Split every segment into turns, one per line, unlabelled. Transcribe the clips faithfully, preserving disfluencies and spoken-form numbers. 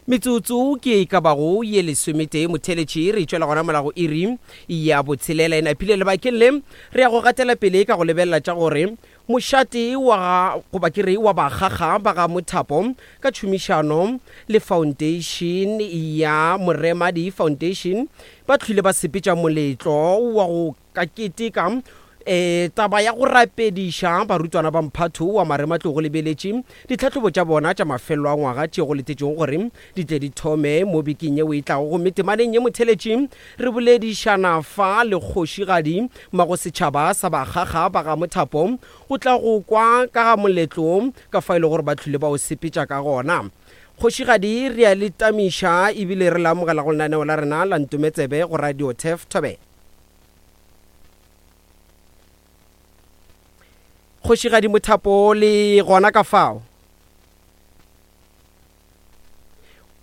Metsotso ke e ka bago ye lesometee motheletši re tšwela gona morago iri ya botshelela. E napile lebakeng le re ya go gatela pele ka go lebelela tša gore mošate wa goba ke re wa bakgakga ba ga Mothapo ka tšhomišano le foundation ya Moremadi Foundation ba tlhwile ba sepetša moletlo wa go ka keteka e taba ya go rapediša barutwana ba mphatho wa marematlou go lebeletše ditlhahlobo tša bona tša mafelelo a ngwaga tše go letetšego gore di tle di thome mo bekeng yeo e tlago. Gomme temaneng ye motheletši re boledišana fa le kgošigadi magosetšhaba sa bakgakga ba ga Mothapo go tla go kwa ka ga moletlo ka fa e le gore ba tlhwile ba o sepetša ka gona. Kgošigadi re a le tamiša ebile re le amogela go lenaneo la rena la Ntometsebe go Radio Turf Thobela. Kgošigadi Mothapo le gona ka fao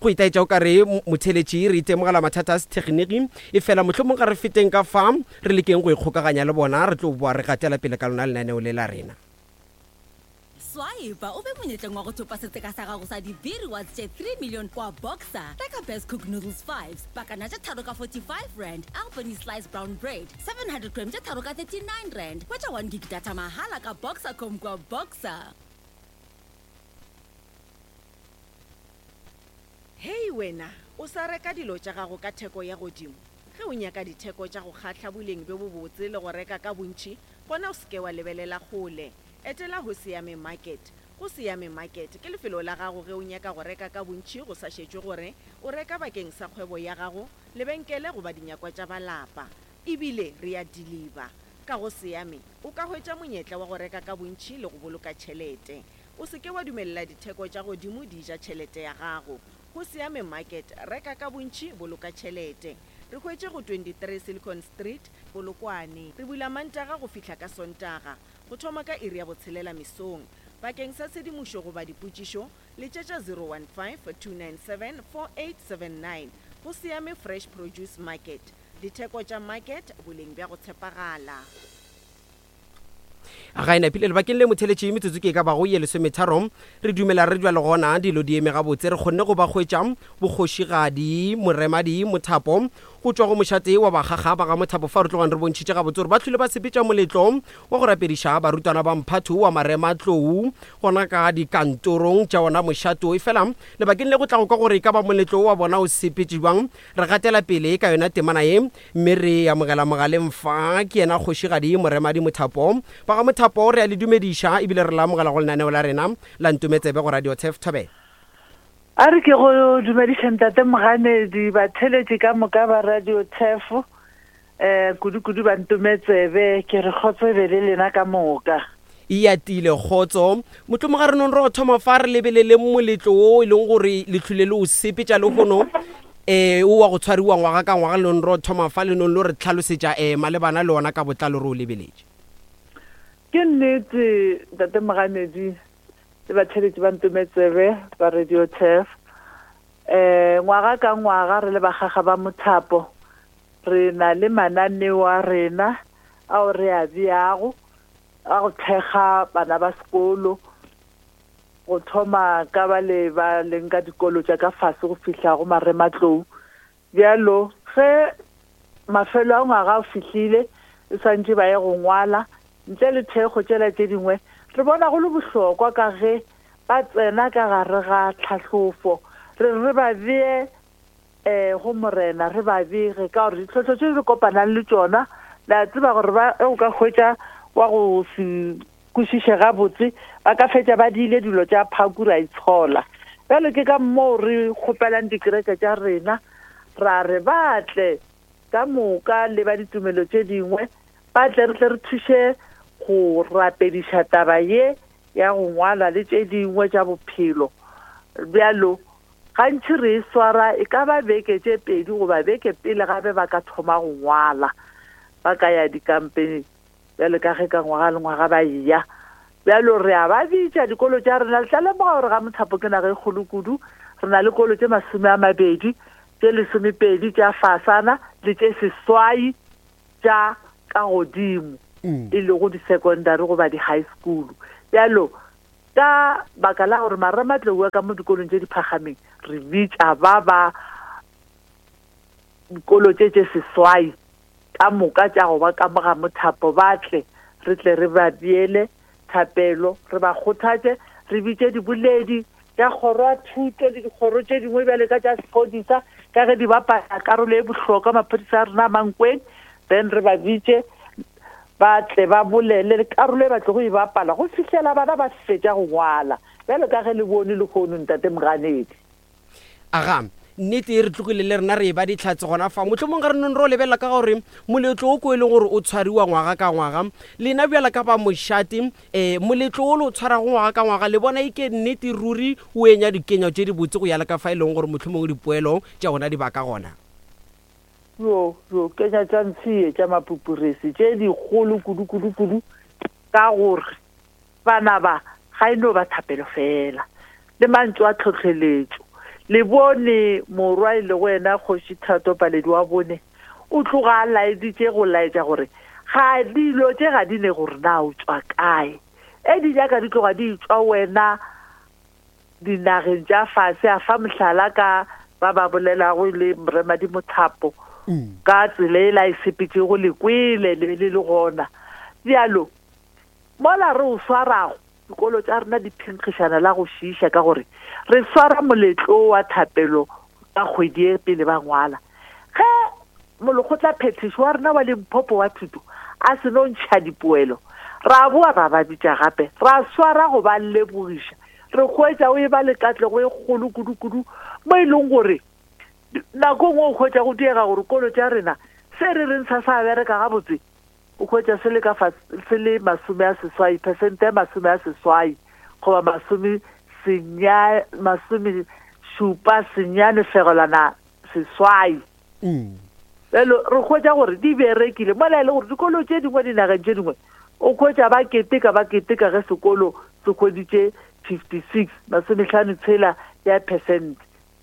go itaetša o ka re motheletši re itemogela mathata a sethekgniki e fela mohlomong ga re feteng ka fa re lekeng go ikgokaganya le bona re tlo boa re gatela pele ka lona lenaneo le la rena.
Swipe o be monyetleng wa go thopa setseka sa gago sa di-V rewards tše three million kwa Boxer. Reka Best Cook Noodles fives, pakana tše tharo ka forty-five rand, Albany Slice Brown Bread, seven hundred gram tše tharo ka thirty-nine rand. Hwetša one gig data mahala ka Boxercom kwa Boxer.
Hei wena, o sa reka dilo tša gago ka theko ya godimo. Ge o nyaka ditheko tša go kgahla boleng bjo bobotse le go reka ka bontši, gona o se ke wa lebelela kgole. Etela go Siame Market. Go Siame Market ke lefelo la gago ge o nyaka go reka ka bontši go sa šetšwe gore o reka bakeng sa kgwebo ya gago, lebenkele goba dinyakwa tša ba lapa. Ebile re ya deliver. Ka go Siame o ka hwetša monyetla wa go reka ka bontši le go boloka tšhelete. O se ke wa dumelela ditheko tša godimo di ja tšhelete ya gago. Go Siame Market, reka ka bontši, boloka tšhelete. Re hwetše go twenty-three Silicon Street, Polokwane. Re bula Mantaga go fihla ka Sontaga, go thoma ka iri ya botshelela mesong. Bakeng sa tshedimošo goba dipotšišo, letšetša zero one five, two nine seven, four eight seven nine. Go Siame Fresh Produce Market. Ditheko tša market, boleng bja go tshepagala.
Ga e napile lebakeng le motheletši metsotso ke e ka bago ye lesometharo re dumela re jwa le gona dilo di eme gabotse re kgonne go ba hwetša bokgošigadi Moremadi Mothapo go tšwa go mošate wa bakgakga ba ga Mothapo fa re tlogang re bontšhitše gabotse gore ba tlhwile ba sepetša moletlo wa go rapediša barutwana ba mphatho wa marematlou gona ka dikantorong tša ona mošato. E fela lebakeng le go tla go kwa gore e ka ba moletlo wa bona o sepetše bjang re gatela pele ka yona temana ye mme re amogela mogaleng fa ke yena kgošigadi Moremadi Mothapo. Ba ga Mothapo re a le dumediša ebile re la amogela go lenaneo la rena la Ntometsebe go Radio Turf Thobela.
A re ke go dumediša ntate Moganedi, batheletši ka moka ba Radio Turf, eh kudu-kudu ba Ntometsebe, ke re kgotso e be le lena ka moka.
E atile kgotso. Mohlomong ga re nong re go thoma fa re lebelele moletlo wo e leng gore le tlhwile le o sepetša lehono eh o wa go tshwariwa ngwaga ka ngwaga le nong re go thoma fa le nong le re tlhalosetša eh malebana le ona ka botlalo re o lebeletše.
Ke nnete ntate Moganedi le batheletši ba Ntometsebe ba Radio Turf. Eh ngwaga ka ngwaga re le bakgakga ba Mothapo re na le mananeo a rena ao re a beago a go thekga bana ba sekolo go thoma ka ba le ba leng ka dikolo tša ka fase go fihla go marematlou. Bjalo ge mafelo a ngwaga a fihlile e swantše ba ye go ngwala ntle le thekgo tšela tše dingwe re bona go le bohlokwa ka ge ba tsena ka gare ga tlhahlofo re re ba bee eh go morena re ba bege ka gore ditlhohlo tše re kopanang le tšona le a tseba gore ba o ka hwetša wa go se kwešiše gabotse ba ka fetša ba diile dilo tša phaku ra itshola. Bjalo ke ka moo re kgopelang dikereke tša rena ra re ba tle ka moka le ba ditumelo tše dingwe ba tle re tle re thuše go rapediša taba ye ya go ngwala le tše dingwe tša bophelo. Bjalo gantši re e swara e ka ba beke tše pedi goba beke pele gape ba ka thoma go ngwala ba ka ya dikampeng bjalo ka ge ka ngwaga le ngwaga ba eya. Bjalo re a ba bitša dikolo tša rena le tla lemoga gore ga Mothapo ke naga e kgolo kudu re na le kolo tše masome a mabedi tše lesomepedi tša fasana le tše seswai tša ka godimo e lego di-secondary goba di-high school. Bjalo Ka baka la gore marematlou a ka mo dikolong tše di phagameng, re bitša ba ba dikolo tše tše seswai ka moka tša go ba ka mo ga mothapo, ba tle re tle re ba beele thapelo, re ba kgothatše, re bitše diboledi tša kgoro ya thuto le dikgoro tše dingwe bjale ka tša sephodisa, ka ge di bapala karolo e bohlokwa maphodisa a rena a Mankweng. Then re ba bitše ba tle ba bolele le karolo e ba tlogo e bapala go fihlela bana ba fetša go ngwala, bjalo ka ge le bone lehono, ntate Moganedi.
Aga, nnete e re tlogile le rena re e ba ditlhatse gona fa. Mohlomong ga re nong re o lebelela ka gore moletlo o ko e leng gore o tshwariwa ngwaga ka ngwaga, lena bjala ka ba mošate, um moletlo o le o tshwarago ngwaga ka ngwaga, le bona e ke nnete ruri o enya dikenya tše dibotse go ya le ka fa e leng gore mohlomong dipoelo tša gona di ba ka gona?
Yo yo kenya tša ntshie tša mapupuresi tše dikgolo kudu kudu kudu, ka gore bana ba ga e no ba thapelo fela le mantšu a tlhotlheletšo. Le bone morwa e lego yena Kgoši Thato Paledi wa bone o tloga a laeditše go laetša gore ga dilo tše ga di ne gore na o tšwa kae, e di nyaka di tloga di tšwa wena dinageng tša fase. A fa mohlala ka ba ba bolelago le Moremadi Mothapo ka tsela e la e sepetšego, le kwele le be le le gona. Bjalo mola re o swarago, dikolo tša rena di phenkgišana la go šiiša, ka gore re swara moletlo wa thapelo ka kgwedi e pele ba ngwala. Ge molekgotla phethiši wa rena wa Limpopo wa thuto a se no ntšha dipoelo, ra boa ra ba bitša gape, ra swara go ba lebogiša. Re hwetša o e ba le katlego e kgolo kudu-kudu, mo e leng gore nako nngwe o hwetša go diega gore kolo tša rena se re reng sa sa bereka gabotse, o hwetša se le ka fa se le masome a seswai percent ya masome a seswai goba masome senya masome šupa senyane fegelwana seswai. Bjalo re hwetša gore di berekile, mola e le gore dikolo tše dingwe dinageng tše dingwe o hwetša ba keteka ba keteka ge sekolo se hweditše fifty-six masomehlano tshela ya percent.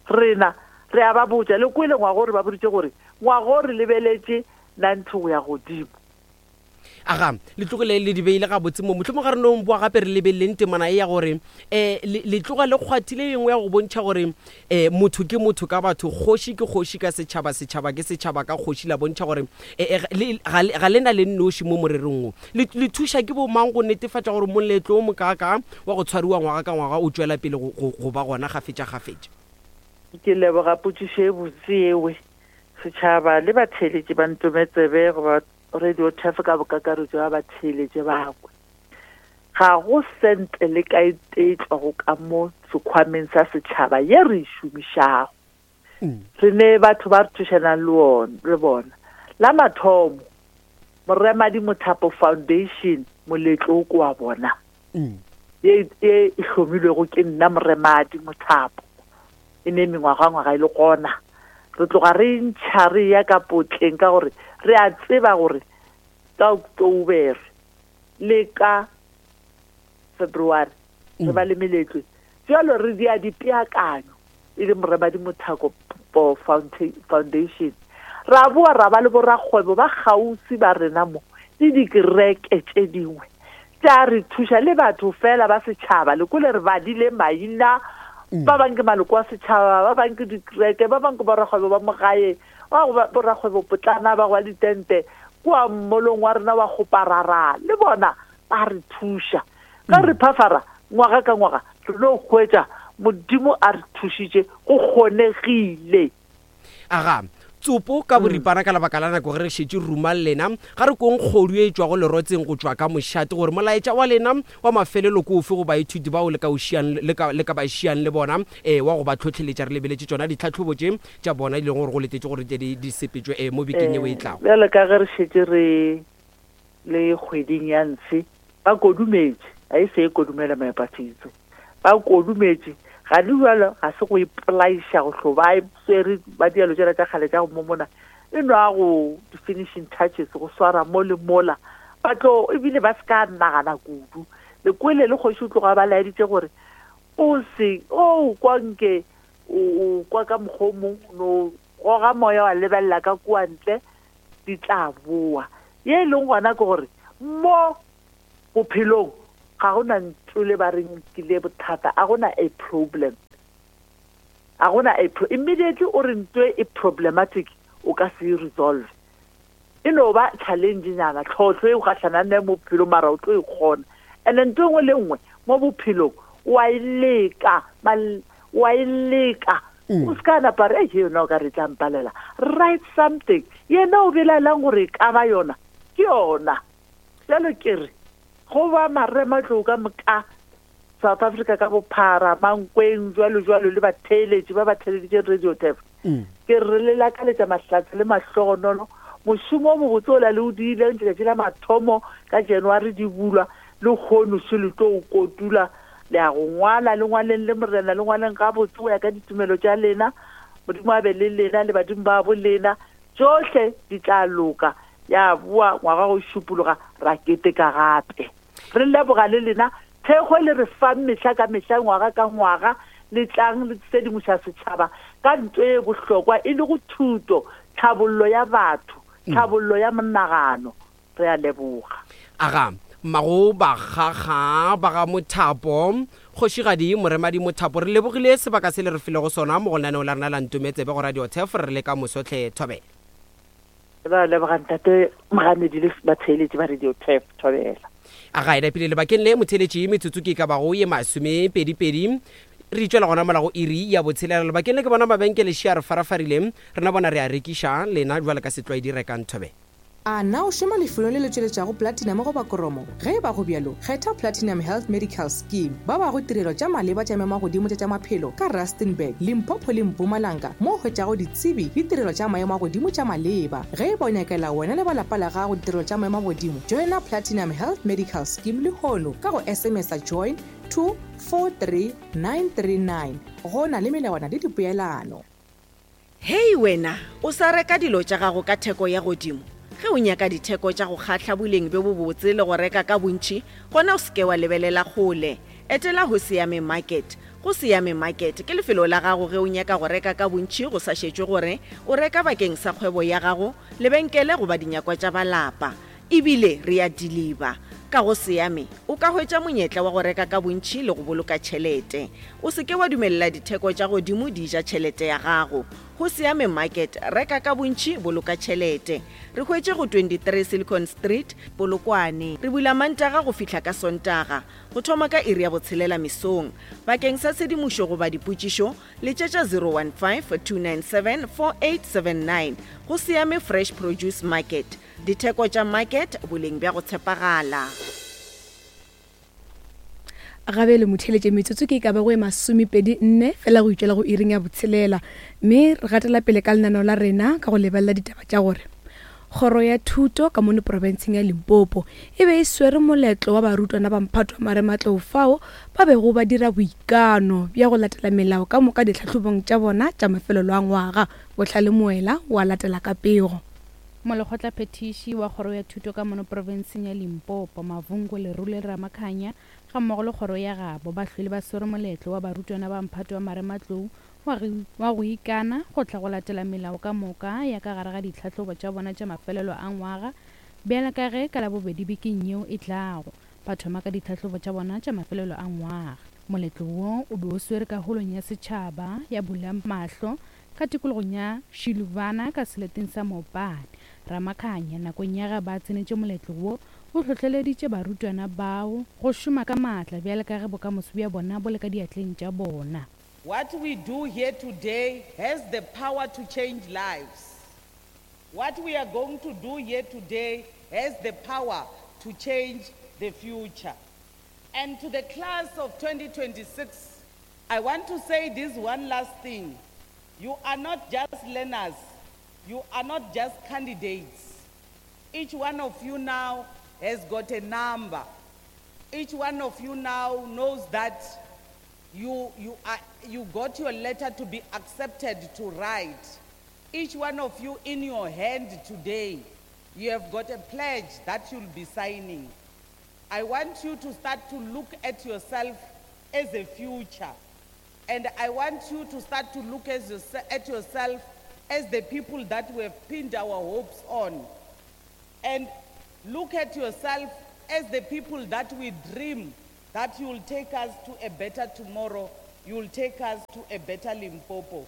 Rena re a ba botša, le kwele ngwaga o re ba boditše gore ngwaga o re lebeletše ninety go ya godimo.
Aga, le tlogile le di beile gabotse mo. Mohlomong ga re nong boa gape re lebeleleng temana e ya gore um le tloga le kgwathile engwe ya go bontšha gore um motho ke motho ka batho, kgoši ke kgoši ka setšhaba, setšhaba ke setšhaba ka kgoši. La bontšha gore ga le na le nnoši mo morerong wo. Le thuša ke bo mang go netefatša gore moletlo o mokaka wa go tshwariwa ngwaga ka ngwaga o tšwela pele go ba gona gafetša-gafetša?
Ke leboga potšišo e botse ewe. Setšhaba le batheeletši ba Ntometsebe goba Radio Turf ka bokakaretšo ba batheeletše bakwe, ga go sente le ka e tee tšwago ka mo sekhwameng sa setšhaba ye re e šomišago. Re ne batho ba re thušanang le bona. La mathomo, Moremadi Mothapo Foundation, moletlo o ko wa bona ye e hlomilwego ke nna Moremadi Mothapo, e ne mengwagangwaga e le gona. Re tloga re ntšha re ya ka potleng ka gore re a tseba gore ka October le ka February re ba le meletlo. Jalo re dia dipeakanyo e le Moremadi Mothapo Foundation. Ra boa ra ba le borakgwebo ba kgauswi ba rena mo le dikereke tše dingwe tša re thuša, le batho fela ba setšhaba. Le kole re badile maina, ba bang ke maloko a setšhaba, ba bang ke dikereke, ba bang ke borakgwebo ba mo gae, ba borakgwebo potlana ba go ditente kua mmolong wa rena wa Kgoparara, le bona ba re thuša. Ka re phafara ngwaga ka ngwaga re no hwetša Modimo a re thušitše, go kgonegile.
Aga, tsopo ka boripana ka lebaka la nako ge re šetše ruma lena, ga re kong kgodu e tšwago lerotseng go tšwa ka mošate, gore molaetša wa lena wa mafelelo ke ofe go baithuti bao le ka o šiang, le ka, le ka ba šiang le bona, um wa go ba tlhotlheletša. Re lebeletše tšona ditlhahlobo tše tša bona e leng gore go letetše gore di di sepetšwe um mo bekeng yeo e tlago.
Bjalo ka ge re šetše re le kgweding ya ntshe, ba kodumetše, ga e se e kodumela maepafitso, ba kodumetše. Ga di jalo, ga se go ipolaiša go hlo ba swere ba dialo tšela tša kgale tša go momona, e nwa go di-finishing touches, go swara mo le mola ba tlo, ebile ba se ka nagana kudu. Le kwele le kgoši o tloga ba laeditše gore o se o kwa nke o kwa ka mokgwa o mongwe, no goga moya wa lebelela ka kua ntle, di tla boa. Ye e leng gona ke gore mo bophelong Ga gona ntlo le ba reng kile bothata, a gona a problem. A gona a pro immediately o re ntho e problematic, o ka se e resolve. E no ba challenge nyana, tlhotlho e o gatlhanang le mo bophelong, mara o tlo e kgona. And ntho e nngwe le nngwe mo bophelong wa e leka, mal- wa e leka. O se ka napa re, "Ei, yona o ka re tla mpalela." Write something. Yena o belaelang gore e ka ba yona, ke yona. Jalo ke re, go ba marematlou ka moka South Africa ka bophara, Mankweng, jwalo jwalo, le batheeletši ba ba theeleditšeng Radio Turf. Ke re le lakaletša mahlatse le mahlogonolo. Mošomo o mobotse o la le o diileng letšatši la mathomo ka January di bulwa, le kgono se le tlo o kotula. Le ya go ngwala, le ngwaleng le morena, le ngwaleng gabotse go ya ka ditumelo tša lena. Modimo a be le lena le badimo ba bo lena. Tšohle di tla loka. Ya boa ngwaga go šupologa, ra keteka gape. Re leboga le lena thekgo le re fang mehla ka mehla, ngwaga ka ngwaga. Le tlang le sedimoša setšhaba ka ntho e bohlokwa e le go thuto, tlhabollo ya batho, tlhabollo ya monagano. Re a leboga.
Aga mmago bakgakga ba ga Mothapo, kgošigadi Moremadi Mothapo, re lebogile sebaka se le re filego sona mo go lenaneo la rena la Ntometsebe go Radio Turf. Re le ka mosotlhe, thobela.
Ba leboga ntate Moganedi le batheeletši ba Radio Turf, thobela.
Aga e napile lebakeng le motheletši, metsotso ke ka bago ye masomepedipedi re itšwela gona mola go iri ya botshelela. Lebakeng le ke bona mabenkele šia re farafarile, rena bona re a rekiša lena jwale ka setlwaedi rekang, thobela.
A na o šoma lefelong le le tšweletšago platinum goba koromo? Ge e ba go bjalo, kgetha Platinum Health Medical Scheme. Ba bago tirelo tša maleba tša maemo a godimo tša tša maphelo ka Rustenburg, Limpopo le Mpumalanga, mo o hwetšago ditsebi le tirelo tša maemo a godimo tša maleba. Ge e ba o nyakela wena le ba lapa la gago ditirelo tša maemo a godimo, joina Platinum Health Medical Scheme lehono ka go S M S join two four three nine three nine. Go na le melawana le dipeelano.
Hei wena, o sa reka dilo tša gago ka theko ya godimo. Ge o nyaka ditheko tša go kgahla, boleng bjo bobotse le go reka ka bontši, gona o seke wa lebelela kgole. Etela Go Siame Market. Go Siame Market ke lefelo la gago ge o nyaka go reka ka bontši, go sa šetšwe gore o reka bakeng sa kgwebo ya gago, lebenkele goba dinyakwa tša balapa. Ebile re ya deliver. Ka Go Siame o ka hwetša monyetla wa go reka ka bontši le go boloka tšhelete. O seke wa dumelela ditheko tša godimo di ja tšhelete ya gago. Go Siame Market, reka ka bontši, boloka tšhelete. Re hwetše go twenty-three Silicon Street, Polokwane. Re bula Mantaga go fihla ka Sontaga go thoma ka iri ya botshelela mesong. Bakeng sa tshedimošo goba dipotšišo, letšetša zero one five, two nine seven, four eight seven nine. Go Siame Fresh Produce Market, ditheko tša market, boleng bja go tshepagala.
Gabele motheletše, metsotso ke e ka bago e masomepedi nne fela go itšwela go iring ya botshelela, mme re gatela pele ka lenaneo la rena ka go lebelela ditaba tša gore kgoro ya thuto ka mono profenseng ya Limpopo e be e swere moletlo wa barutwana ba mphato wa marematlou, fao ba bego ba dira boikano bja go latela melao ka moka ditlhahlobong tša bona tša mafelelo a ngwaga. Bohlale Moela wa latela ka pego.
Molekgotla phethiši wa kgoro ya thuto ka mono profenseng ya Limpopo, Mavungo Lerule Ramakhanya, ga mmogo le kgoro ya gabo, ba hlwele ba swere moletlo wa barutwana ba mphato wa marematlou wa go ikana go tla go latela melao ka moka ya ka gare ga ditlhahlobo tša bona tša mafelelo a ngwaga, bjale ka ge ka Labobedi bekeng yeo e tlago ba thoma ka ditlhahlobo tša bona tša mafelelo a ngwaga. Moletlo wo o be o swere ka holong ya setšhaba ya Bula Mahlo ka tikologong ya Shiluvana ka seleteng sa Mopane. Ramakhanya, nakong ya ge ba tsenetše moletlo wo, o hlohleleditše barutwana bao go šoma ka maatla bjale ka ge bokamoso bja bona bo le ka diatleng tša bona.
What we do here today has the power to change lives. What we are going to do here today has the power to change the future. And to the class of twenty twenty-six, I want to say this one last thing. You are not just learners, you are not just candidates. Each one of you now has got a number. Each one of you now knows that you, you, are, you got your letter to be accepted to write. Each one of you in your hand today, you have got a pledge that you'll be signing. I want you to start to look at yourself as a future. And I want you to start to look as yourse- at yourself as the people that we have pinned our hopes on. And look at yourself as the people that we dream that you will take us to a better tomorrow, you will take us to a better Limpopo.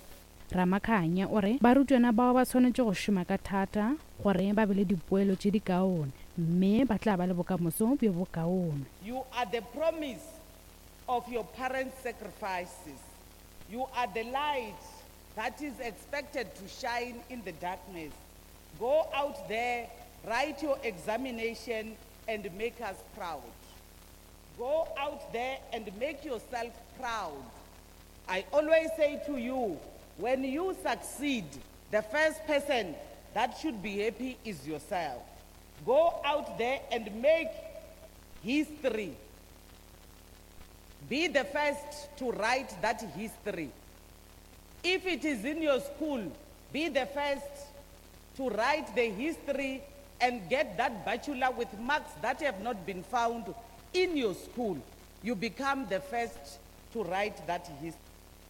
Ramakhanya o re barutwana bao ba swanetše go šoma ka thata gore ba be le dipoelo tše di kaone mme ba tla ba le bokamoso bjo bokaone.
You are the promise of your parents' sacrifices. You are the light that is expected to shine in the darkness. Go out there, write your examination, and make us proud. Go out there and make yourself proud. I always say to you, when you succeed, the first person that should be happy is yourself. Go out there and make history. Be the first to write that history. If it is in your school, be the first to write the history and get that bachelor with marks that have not been found in your school. You become the first to write that history.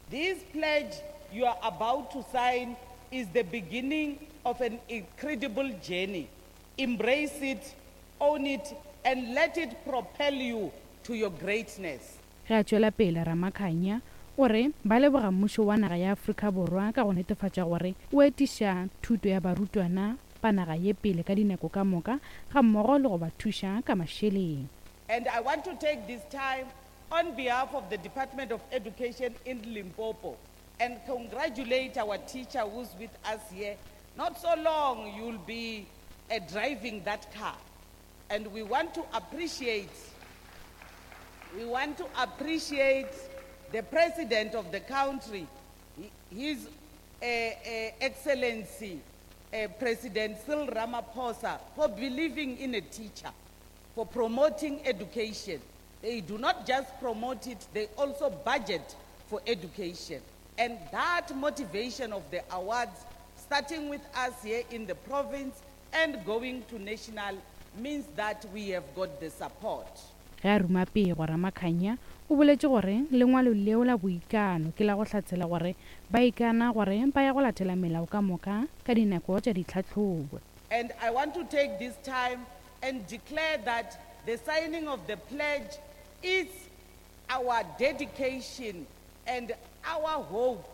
This pledge you are about to sign is the beginning of an incredible journey. Embrace it, own it, and let it propel you to your greatness.
Ge a tšwela pele Ramakhanya o re ba leboga mmušo wa naga ya Afrika Borwa ka go netefatša gore o etiša thuto ya barutwana ba naga ye pele ka dinako ka moka ga mmogo le go ba thuša ka mašeleng.
And I want to take this time on behalf of the Department of Education in Limpopo and congratulate our teacher who's with us here. Not so long you'll be, uh, driving that car. And we want to appreciate, we want to appreciate the president of the country, His, uh, uh, Excellency, uh, President Cyril Ramaphosa, for believing in a teacher, for promoting education. They do not just promote it, they also budget for education. And that motivation of the awards, starting with us here in the province and going to national, means that we have got the support.
Ge a ruma pego Ramakhanya o boletše gore lengwalo leo la boikano ke la go hlatsela gore ba ikana gore ba ya go latela melao ka moka ka dinako tša ditlhahlobo.
And I want to take this time and declare that the signing of the pledge is our dedication and our hope.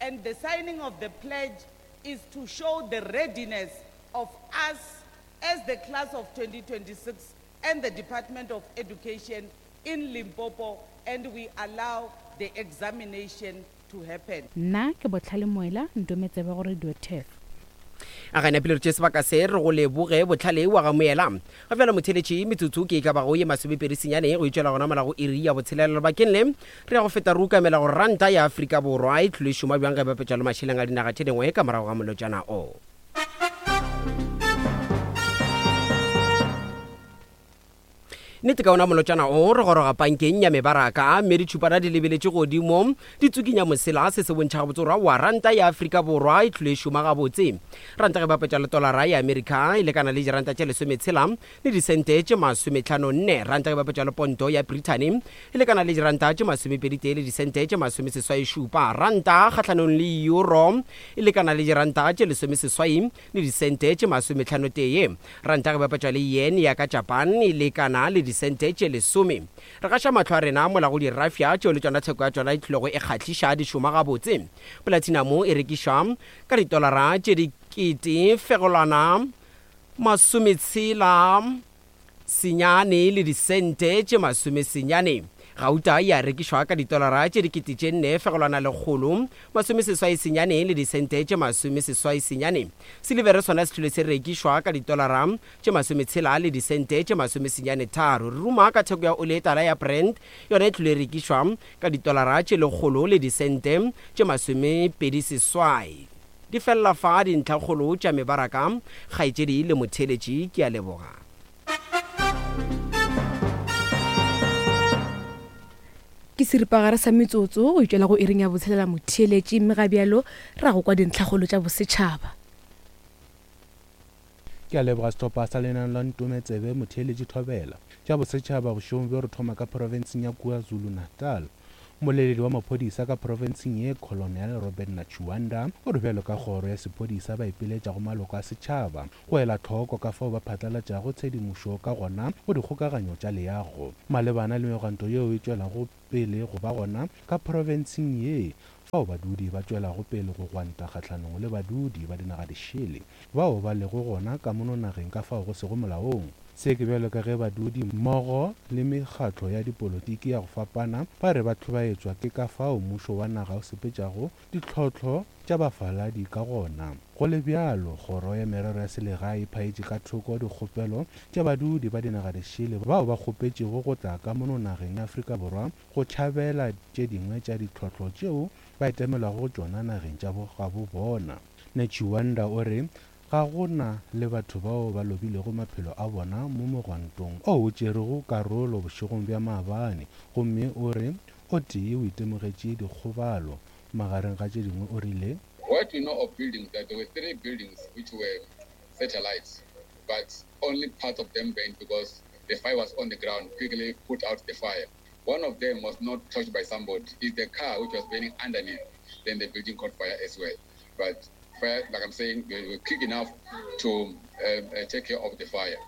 And the signing of the pledge is to show the readiness of us as the class of twenty twenty-six and the Department of Education in Limpopo, and we allow the examination to happen.
Nna ke Botlhale Moela, Ntometsebe go Radio Turf.
A gana pele re tše sebaka se re go leboge Botlhale wa ga Moela. Ga bjale motheletši metsotso ke e ka bago ye masomepedi senyane go itšwela gona mola go iri ya botshelela. Lebakeng le re ya go feta re ukamela gore ranta ya Afrika Borwa e tlile e šoma bjang ge bapetša le mašeleng a dinaga tše dingwe ka morago ga molotšana o. Nnete ka ona molotšana o re goroga pankeng ya mebaraka mme ditšhupana di lebeletše godimo di tsukinya mosela se se bontšha gabotse gore wa ranta ya Afrika Borwa e tlile e šoma gabotse. Ranta ge bapetša le tolara ya Amerika e lekana le diranta tše lesometshela le disente tše masometlhano nne. Ranta ge bapetša le ponto ya Britain e lekana le diranta tše masomepedi tee le disente tše masomeseswai šupa. Ranta kgahlanong le euro e lekana le diranta tše lesomeseswai le disente tše masometlhano tee. Ranta ge bapetša le yen ya ka Japan e lekana le disente tše lesome. Re gaša mahlo a rena mola go dirafia tšeo le tšona theko ya tšona e tlilego e kgahliša di šoma gabotse. Platinum e rekišwa ka ditolara tše dikete fegolwana masometshela senyane le disente tše masomesenyane. Gauta ya rekišwa ka ditolara tše dikete tše nne fegolwana lekgolo masomeseswai senyane le disente tše masomeseswai senyane. Silivere sona se tlile se rekišwa ka ditolara tše masometshela le disente tše masomesenyane tharo. Re ruma ka theko ya oli e tala ya Brent, yona e tlile rekišwa ka ditolara tše lekgolo le disente tše masomepedi seswai. Di fella fa dintlhakgolo tša mebaraka. Kgaetšedi le motheletši, ke a leboga.
Ke seripagare sa metsotso go itšwela go iring ya botshelela motheeletši, mme ga bjalo ra go kwa dintlhakgolo tša bosetšhaba.
Ke a leboga sehlopha sa lenaneo la Ntometsebe motheeletši Thobela. Tša bosetšhaba bošegong bjo re thoma ka profenseng ya KwaZulu-Natal. Mmoleledi wa maphodisa ka profenseng ye, Colonel Robert Netshiunda, o re bjalo ka kgoro ya sephodisa ba ipiletša go maloko a setšhaba go ela hloko ka fao ba phatlalatšago tshedimošo ka gona go dikgokaganyo tša leago malebana le megwanto yeo e tšwelago pele go ba gona ka profenseng ye, fao badudi ba tšwelago pele go gwanta kgahlanong le badudi ba dinaga dišele bao ba lego gona ka mono nageng ka fao go sego molaong. Se ke bjalo ka ge badudi mmogo le mekgatlo ya dipolotiki ya go fapana ba re ba hlobaetšwa ke ka fao mmušo wa naga o sepetšago ditlhohlo tša bafaladi ka gona. Go le bjalo, kgoro ya merero ya selegae e phaetše ka thoko dikgopelo tša badudi ba dinaga dišele bao ba kgopetšego go tla ka mono nageng ya Afrika Borwa go tšhabela tše dingwe tša ditlhohlo tšeo ba itemogelwago go tšona nageng tša gabo bona. Netshiunda o re ga go na le batho bao ba lobilego maphelo a bona mo mogwantong o o tšerego karolo bošegong bja maabane, gomme o re o tee o itemogetše dikgobalo. Magareng ga tše dingwe o rile,
What we know of buildings, that there were three buildings which were satellites, but only part of them burned because the fire was on the ground, quickly put out the fire. One of them was not touched by somebody. It's the car which was burning underneath. Then the building caught fire as well. But fire, like I'm saying, we were quick enough to um, uh, take care of the fire.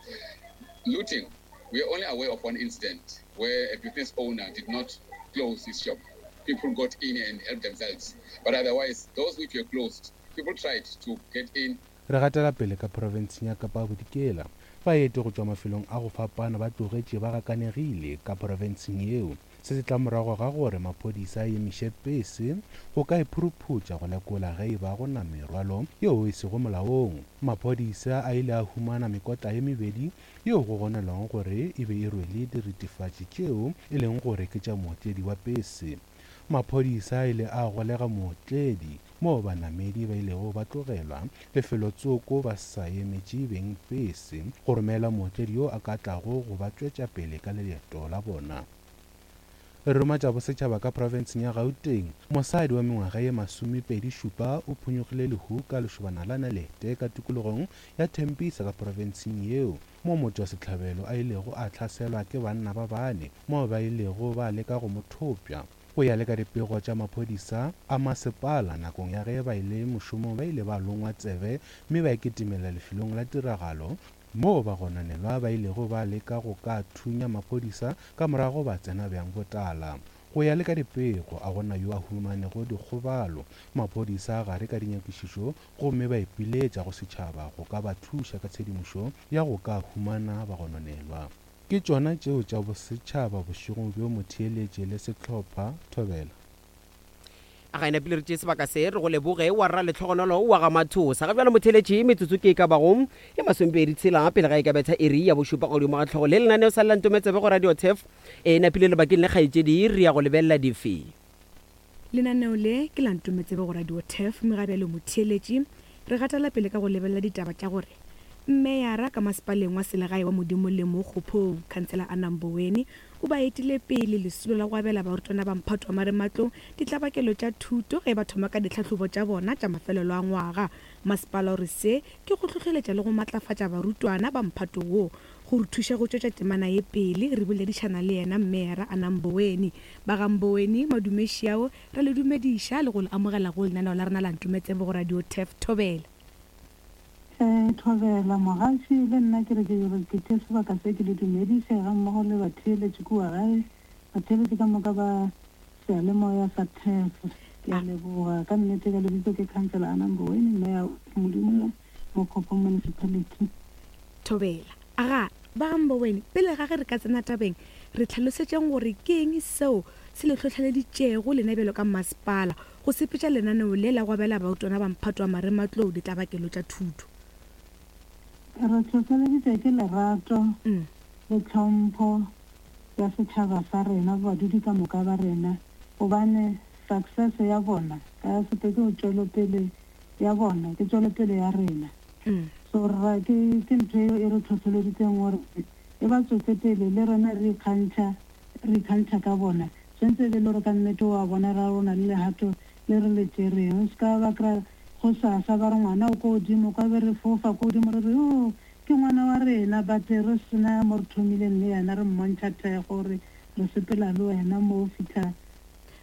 Looting, we are only aware of one incident where a business owner did not close his shop. People got in and helped themselves. But otherwise, those which were closed, people tried to get in.
Re gatela pele ka profenseng ya Kapa Bodikela. Baeti go tšwa mafelong a go fapana ba tlogetše ba gakanegile ka profenseng yeo. Se se tla morago ga gore maphodisa a emiše pese go ka iphuruphutša go lekola ge e ba go na merwalo yeo e sego molaong. Maphodisa a ile a humana mekotla ye mebedi yeo go gonelwago gore e be e rwele diritifatši tšeo e leng gore ke tša mootledi wa pese. Maphodisa a ile a golega mootledi moo banamedi ba ilego ba tlogelwa lefelotsoko ba sa emetše beng pese go romela mootledi yo a ka tlago go ba tšwetša pele ka leeto la bona. Re roma tša bosetšhaba ka profenseng ya Gauteng. Mosadi wa mengwaga ye masomepedi šupa o phonyokgile lehu ka lešobana la nalete ka tikologong ya Tembisa ka profenseng yeo, moo motšwasehlabelo a ilego a hlaselwa ke banna ba bane moo ba ilego ba leka go mo thopša. Go ya le ka dipego tša maphodisa a masepala, nakong ya ge ba ile mošomong ba ile ba longwa tsebe mme ba kitimela lefelong la tiragalo moo ba gononelwa ba ilego ba leka go ka thunya maphodisa ka morago ba tsena bjang botala. Go ya le ka dipego, a gona yo a humanego dikgobalo. Maphodisa a gare ka dinyakišišo gomme ba ipiletša go setšhaba go ka ba thuša ka tshedimošo ya go ka humana bagononelwa. Ke tšona tšeo tša bosetšhaba bošegong bjo motheeletše le sehlopha Thobela.
A ga ena pele re tšee sebaka se re go leboge wa rra letlhogonolo wa ga Mathosa. Ga bjalo motheeletše metsotso ke e ka bago e masomepedi tshela pele ga e ka betha iri ya bošupa godimo ga tlhogo le lenaneo sa Lentometsebe go Radio Turf. E napile lebakeng le kgaetšedi re ya go lebelela dife.
Lenaneo le ke la Ntometsebe go Radio Turf, mme ga bjalo motheeletše re gatela pele ka go lebelela ditaba tša gore mmeyara ka masepaleng wa selegae wa Modimo le Mokgophong, Khansela Anna Mboweni, o ba etile pele lesolo la go abela barutwana ba mphato wa marematlou ditlabakelo tša thuto ge ba thoma ka ditlhahlobo tša bona tša mafelelo a ngwaga. Masepala o re se ke go hlohleletša le go matlafatša barutwana ba mphato wo. Go re thuša go tšwetša temana ye pele, re boledišana le yena mmeyara Anna Mboweni. Ba ga Mboweni, madumešiao, re le dumediša le go le amogela go lenaneo la rena la Ntometsebe go Radio Turf. Thobela.
Eh, Thobela mogaši, le nna ke re ke re ke tšee sebaka se ke le dumediše ga mmogo le batheeletši kua gae, batheeletši ka moka ba seyalemoya sa Turf. Ke a leboga ka nnete. Ka lebitso ke Councillor Anna Mboweni, mayor Modimo Mokgophong Municipality.
Thobela. Aga, ba ga Mboweni, pele ga ge re ka tsena tabeng, re tlhalosetšeng gore ke eng seo se le hlohleleditšego lena bjalo ka masepala go sepetša lenaneo le la go abela barutwana ba mphato wa marematlou ditlabakelo tša thuto.
Re hlohleleditšwe ke lerato le tlhompho ya setšhaba sa rena, badudi ka moka ba rena, gobane success ya bona ka sepe ke tšwelopele ya bona, ke tšwelopele ya rena. So ra ke ke ntho eo e re hlohleleditseng gore e ba tswetse pele le rena re ikgantšha, re ikgantšha ka bona. Tshwantse e be le gore ka nnete wa bona ra rona le lehato le re le tšereng. O se ka ba kry-a go sasa ba re ngwana o ko godimo, kwa be re fofa ko godimo re re o ke ngwana wa rena, but re sena mo re thomileng le yena, re mmontšha thekgo gore re sepela le wena mo o fitlha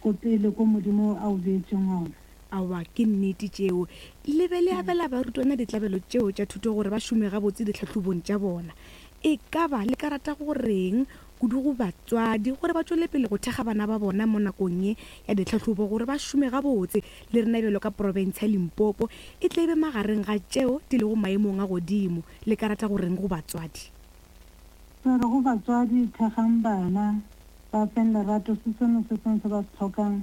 ko pele ko Modimo a o beetseng gona.
Aowa, ke nnete tšeo. Le be le abela barutwana ditlabelo tšeo tša thuto gore ba šome gabotse ditlhahlobong tša bona. E ka ba le ka rata go reng kudu go batswadi gore ba tšwele pele go thekga bana ba bona mo nakong ye ya ditlhahlobo gore ba šome gabotse le rena bjalo ka profense ya Limpopo e tle e be magareng ga tšeo di lego maemong a godimo? Le ka rata go reng go batswadi?
Re re go batswadi, thekgang bana, ba feng lerato, se sengwe se sengwe se ba se hlokang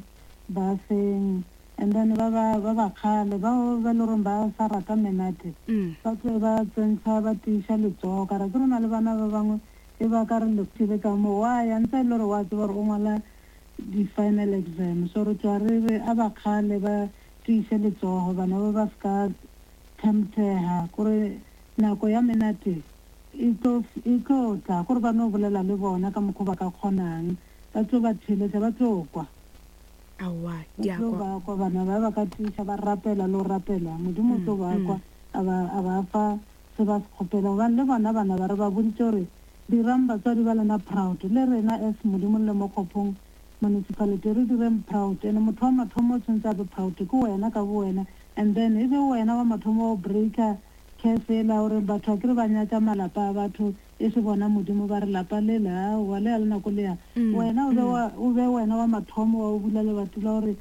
ba feng. And then ba ba ba ba kgale bao ba le goreng ba sa rata menate, ba tle ba tsentsha ba tiiša letsogo. Ka re ke re na le bana ba bangwe e ba ka re lefile ka mo wa ya ntse e le gore wa tseba gore o ngwala di-final exam. So re tloga re re a ba kgale ba tiiše letsogo, bana ba ba se ka temptega kore nako ya menate e tlo e tlo tla, kore ba no bolela le bona ka mokgwa ba ka kgonang, ba tlo ba theeletša, ba tlo kwa.
Aowa,
Ba
di a
tlo
kwa.
ba kwa bana ba ba ka tiiša ba rapela le go rapela, Modimo o tlo ba
Mm,
kwa
mm.
a ba a ba fa se ba se kgopela. Gobane le bona bana ba re ba boditše gore dirang batswadi ba lena proud, le rena as Modimo le Mokgophong municipality re direng proud. And motho wa mathomo o tshwanetse a be proud ke wena ka bo wena, and then e be wena wa mathomo wa breaker curse ela gore batho a kere ba nyatša malapa a batho e se bona Modimo ba re lapa le la aowa le a le nako le ya.
Mm,
Wena o be
mm.
wa o be wena wa mathomo wa o bula lebati la gore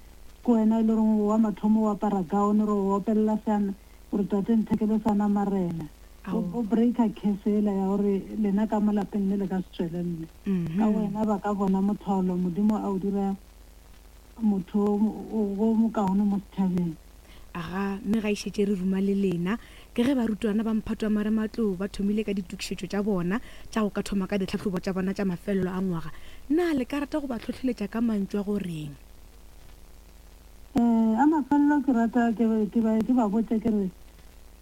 ke wena e le goreng wa mathomo wa apara gown gore o opelela seana gore tate nthekele sana marena. O
Aowa.
o breaker curse ela ya gore lena ka mo lapeng le le ka se tswelelle. Ka
Mhm.
wena ba ka bona motholo Modimo a o dira motho o o mokaone mo setšhabeng.
Aga, mme ga e šetše re ruma le lena ke ge barutwana ba mphato wa marematlou ba thomile ka ditokišetšo tša bona tša go ka thoma ka ditlhahlobo tša bona tša mafelelo a ngwaga. Na le ka rata go ba hlohleletša ka mantšu a go reng?
Eh, a mafelelo ke rata ke ba ke ba ke ba botše ke re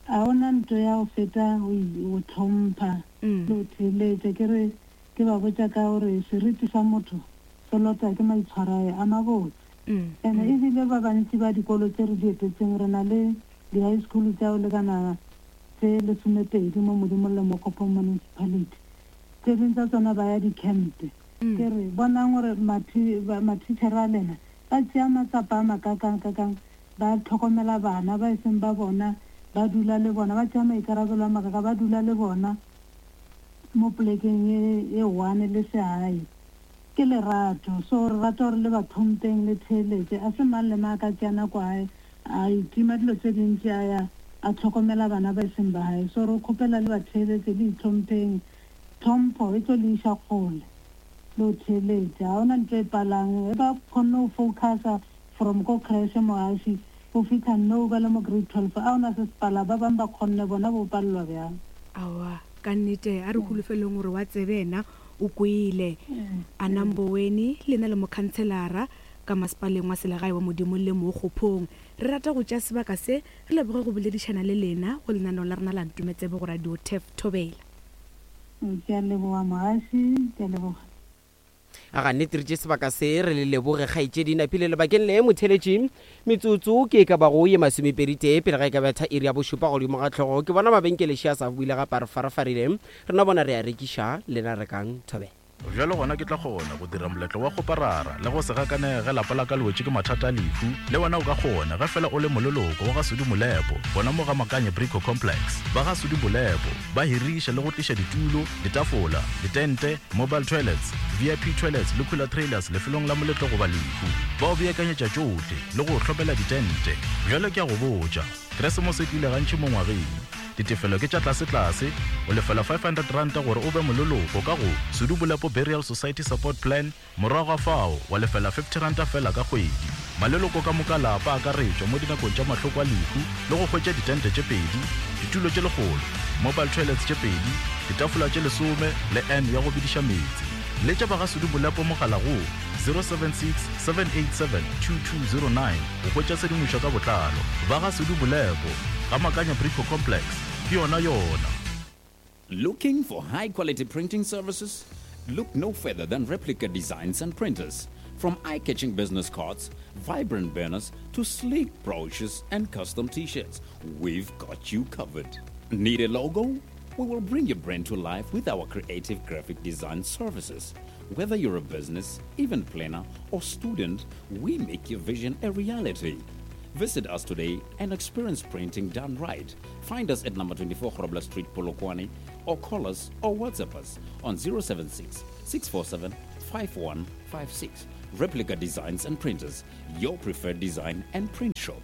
a ona ntho ya go feta go i- go tlhompha
Mm.
le go theeletša. Ke re ke ba botša ka gore seriti sa motho se lota ke maitshwaro a mabotse.
Mm,
And
mm.
ebile ba bantši ba dikolo tse re di etetseng, re na le di-high school tša go lekana tse lesomepedi mo Modimo le Mokgophong municipality. Tse dingwe tsa tsona ba ya di-camp.
Mm.
Ke re bonang gore mathi- ba- matitjhere a lena ba tšea matsapa a makakang-kakang, ba tlhokomela bana ba e seng ba bona, ba dula le bona, ba tšea maikarabelo a makaka, ba dula le bona mo polekeng e e one le sehae. Ke lerato, so re rata gore le ba tlhompeng le theeletše. A se mang le mang a ka tšea nako hae a itima dilo tse dintši a ya a tlhokomela bana ba e seng ba hae. So re kgopela le ba theeletše, le itlhompheng. Tlhompho e tlo le iša kgole le ho theeletša. Ha hona ntho e palang, e ba kgonne ho focusa from ko creche moaši go fitlha nou ba le mo grade twelve, a hona se se pala. Ba bangwe ba kgonne, bona bo palelwa bjang.
Aowa, ka nnete a re holofeleng gore wa tsebena o kwele. A Namboweni le na le mokhanselara ka masepaleng wa selegae wa Modimo le Mokgophong. Re rata go tšea sebaka se re leboge go boledišana le lena go lenaneo la rena la Ntumetsebe go Radio Turf Thobela.
Ke a leboga moaši, ke a leboga.
Aga nnete re tše sebaka se re le leboge kgaetšedi Napile lebakeng le motheletši. Metsotso ke e ka bago ye masomepedi tee pele ga e ka betha iri ya bošupa godimo ga tlhogo. Ke bona mabenkele šia sa buile gape a re farafarile. Rena bona re a rekiša, lena rekang thobela.
Bjalo gona ke tla kgona go dira moletlo wa kgoparara le go se gakane ge lapa la ka le wetše ke mathata a lehu. Le wena o ka kgona ge fela o le moleloko wa ga Sudi Molepo gona mo ga Makanye Brico Complex. Ba ga Sudi Molepo ba hiriša le go tliša ditulo, ditafola, ditente, mobile toilets, V I P toilets le cooler trailers lefelong la moletlo goba lehu. Ba o beakanyetša tšohle le go hlomela ditente. Bjalo ke a go botša, Keresemose e tlile gantši mo ngwageng. Ditefelo ke tša tlase-tlase, o lefela five hundred ranta gore o be moleloko ka go Sudi Molepo Burial Society Support Plan, morago ga fao wa lefela fifty ranta fela ka kgwedi. Maleloko ka moka lapa a akaretšwa mo dinakong tša mahloko a lehu le go hwetša ditente tše pedi, ditulo tše lekgolo, mobile toilets tše pedi, ditafola tše lesome le N ya go bediša meetse. Letša ba ga Sudi Molepo mogala go zero seven six, seven eight seven, two two zero nine go hwetša tshedimošo ka botlalo. Ba ga Sudi Molepo ga Makanya Brico Complex ke yona yona.
Looking for high quality printing services? Look no further than Replica Designs and Printers. From eye-catching business cards, vibrant banners, to sleek brochures and custom t-shirts, we've got you covered. Need a logo? We will bring your brand to life with our creative graphic design services. Whether you're a business, event planner, or student, we make your vision a reality. Visit us today and experience printing done right. Find us at number twenty-four Grobler Street, Polokwane, or call us or WhatsApp us on zero seven six, six four seven, five one five six. Replica Designs and Printers, your preferred design and print shop.